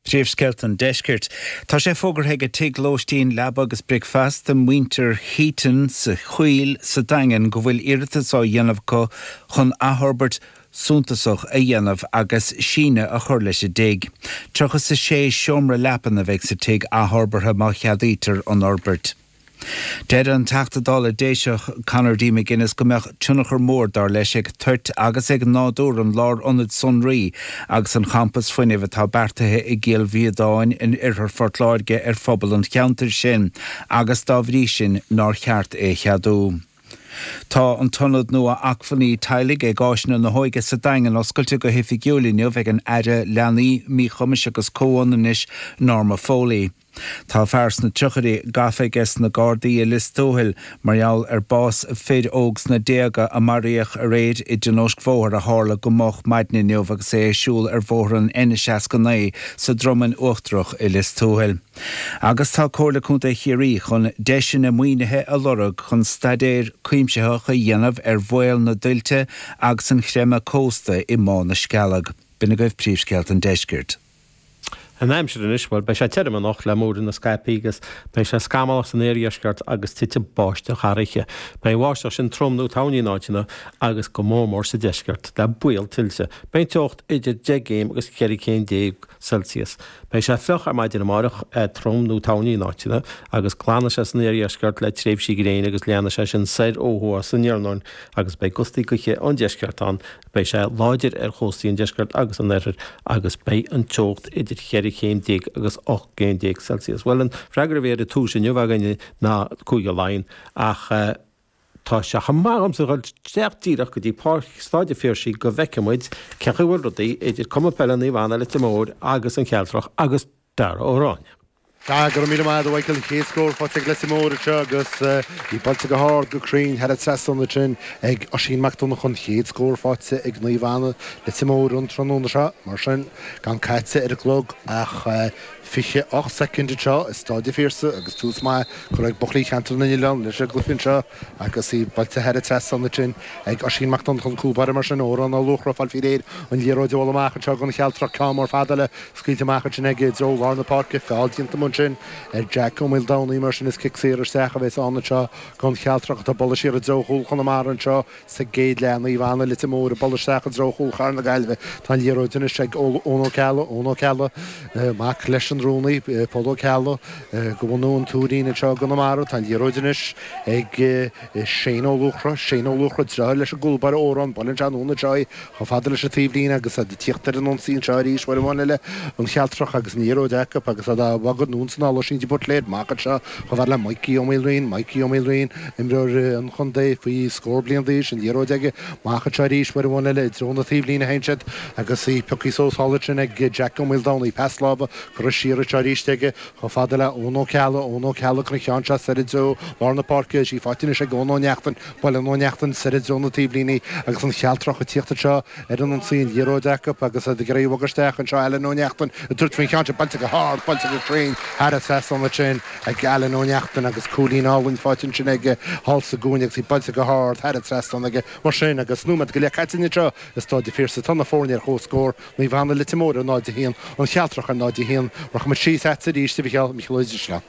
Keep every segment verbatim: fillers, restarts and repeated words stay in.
Príomhscéalta an Deiscirt. Tá sé fógartha ag tigh lóistín leaba agus bricfeasta muintir Heaton sa Choill sa Daingean go bhfuil iarratas á dhéanamh acu chun athfhorbairt suntasach a dhéanamh agus síneadh a chur leis an dtigh. Tríocha a sé seomra leapan a bheidh sa tigh athfhorbartha má cheadaítear an fhorbairt. Deir an Teachta Dála Déiseach Conor D. McGuinness go mbeadh tionchar mór dar leis ag toirt agus ag nádúr an lárionaid sonraí agus an champas fuinnimh atá beartaithe i gCill Mhíodáin in oirthear Phort Láirge ar phobal an cheantair sin agus dá bhrí sin nár cheart é a cheadú. Tá an t-ionad nua acmhainní teaghlaigh ag Áiseanna na hÓige sa Daingean oscailte go hoifigiúil inniu ag an Aire Leanaí Míchumais agus Comhionannais Norma Foley. Tá fear sna tríochaidí gafa ag na Gardaí i Lios Tuathail mar gheall ar bás fir óg sna déaga a maraíodh aréir i dtionóisc bhóthair a tharla go moch maidin inniu agus é ag siúl ar bhóthar an N seasca naoi sa Dromainn Uachtarach i Lios Tuathail. Agus tá Comhairle Contae Chiarraí chun deiseanna maoinithe a lorg chun staidéar cuimsitheach a dhéanamh ar bhaol na dtuilte agus an chreimeadh cósta i mBá na Scealg. B'in agaibh príomhscéalta an Deiscirt. An aimsir anois well beidh sé tirim anocht le múireanna scaipthe agus beidh sé scamallach san iardheisceart agus titfidh báisteach thar oíche. Beidh an bháisteach sin trom nó tanaí in áiteanna agus go mór mór sa deisceart le baol tuilte. Beidh teocht idir deich gcéim agus ceithre chéim déag Celsius. Beidh sé fliuch ar maidin amárach trom nó tanaí in áiteanna agus glanfaidh sé san iardheisceart le tréimhsí gréine agus leanfaidh sé sin soir ó thuaidh san iarnóin agus beidh gustaí gaoithe ón deisceart ann. Beidh sé láidir ar chóstaí an deisceart agus an oirthir agus beidh an teocht idir cheithre chéim déag agus ocht gcéim déag Celsius. Well an freagra a bhí ar an tús inniu againne ná Cúige Laighean ach uh, tá sé chomh maith agamsa dhul isteach díreach go dtí páirc Staid an Phiarsaigh go bhfeicfidh muid cén chaoi a bhfuil rudaí idir Cumann Peile Naomh Anna Leitir Móir agus an Chealtrach agus Dara Ó Ráinne. Tá go míle maith Michael chéad scór faighte ag Leitir Móir anseo agus í buailte go hard go cruinn thar an trasnán sin ag Oisín Mac Donncha an chéad scór faighte ag Naomh Anna Leitir Móir an tráthnóna seo mar sin gan caite ar an gclog ach fiche ocht soicind anseo i Staid an Phiarsaigh agus tús maith curtha ag buachaillí Cheantar na nOileán leis an gcluiche anseo agus í buailte thar an trasnán sin ag Oisín Mac Donncha an cúl báire mar sin Odhrán Ó Luachra fáil faoi réir an liathróid a amach anseo don Chealtrach ceann mór fada le scaoilte amach ansin ag deo lár na páirce feall déanta sin ar Jack Ó Maoldomhnaigh mar sin is cic saor isteach a bheas ann anseo don Chealtrach atá buailte siar i dtreo chúl Chonamara anseo sa gcéad leath Naomh Anna Leitir Móir ag bualadh isteach i dtreo chúl Chathair na Gaillimhe Tá an liathróid anois ag Eoin Ó Ceallaigh Eoin Ó Ceallaigh mac leis an rúnaí Pól Ó Ceallaigh go bhunú an Tuairín anseo i gConamara tá an liathróid anois ag Shane Ó Luachra Shane Ó Luachra deartháir leis an gcúl báire Odhrán buaileann sé anonn anseo chomh fada leis an taobhlíne agus ag tíocht ar an ionsaí anseo arís uair amháin eile an Chealtrach agus an liathróid acu agus a bhagad anonn san Oisín de Buitléir amach anseo chomh fada le Mikey Ó Maoilriain Mikey Ó Maoilriain imreoir an chontae faoi scór bliain d'aois an liathróid aige amach anseo arís uair amháin eile i dtreo na taobhlíne théann siad agus í pioctha suas thall sin ag Jack Ó Maoldomhnaigh pas láimhe curtha siar anseo arís aige chomh fada le Eoin Ó Ceallaigh Eoin Ó Ceallaigh chun ceann seo soir i dtreo lár na páirce sí faighte ag Eoin Ó Neachtain buaileann Ó Neachtain soir i dtreo na taobhlíne agus an Chealtrach ag tíocht anseo ar an ionsaí an liathróid acu agus ag iarraidh isteach anseo Alan Ó Neachtain ag tabhairt faoin cheann buailte go hard buailte go cruinn thar an trasnán sin ag Alan Ó Neachtain agus cúilín álainn faighte sin aige thall sa gcúinne agus í buailte go hard thar an trasnán aige mar sin agus nóiméad go leith caite anseo i Staid an Phiarsaigh tá na foirne ar comhscór Naomh Anna Leitir Móir ar náid a haon an Chealtrach ar náid a haon rachaimid síos chugat arís a Mhichíl Micheál Ó Drisleáin.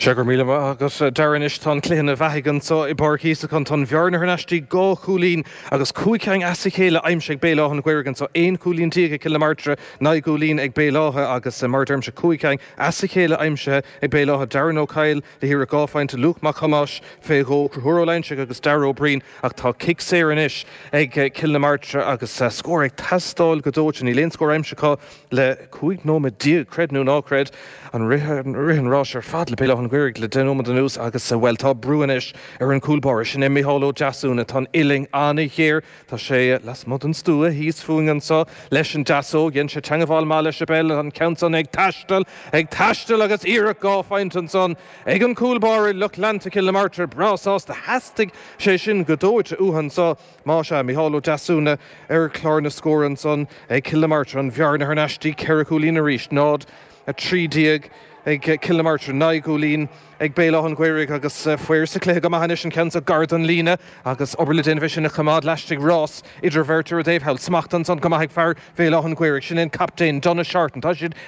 Se gur míle agus Darren tá an cluiche ina bheathaidh anseo i bPáirc Íosacán tá an bhearna thar n-ais dhá chúilín agus cúig cinn as a chéile aimsithe ag Béal Átha an Ghaorthaidh anseo aon chúilín déag ag Cill na Martra naoi gcúilín ag Béal Átha agus mar deirimse cúig cinn as a chéile aimsithe ag Béal Átha Darren Ó Caill le hiarraidh dhá phointe Luke Mac Thomáis fé dhó Conchúr Ó Loingsigh agus Darragh Ó Breen ach tá cic saor anois ag Cill na Martra agus scór ag teastáil go dóite níl aon scór aimsithe acu le cúig nóiméad déag creid nó ná creid an rith an rás ar fad le Béal Átha an Ghaorthaidh le deich nóiméad anuas agus well tá brú anois ar an gcúl báire sin é Micheál Ó Deasúna tá an uillinn an-ghéar Tá sé lasmuigh den stua thíos fúinn anseo leis an deasóg dhein sé teagmháil maith leis an bpeil an ceann san ag taisteal ag taisteal agus iarracht dhá phointe ansan ag an gcúl báire lucht leanta Cill na Martra breá sásta theastaigh sé sin go dóite uathu anseo má sé Micheál Ó Deasúna ar chlár na scór ansan ag Cill na Martra an bhearna thar n-ais ceithre chúilín arís náid a trí déag ag Cill na Martra naoi gcúilín ag Béal Átha an Ghaorthaidh agus faoi sa chluiche go maith anois an ceann gar don líne agus obair le déanamh sin a choimeád laistigh rás idir bheirt ar an dtaobh thall smacht ansan go maith ag fear Bhéal Átha an Ghaorthaidh sin an captaen Donna Shorten Tá siad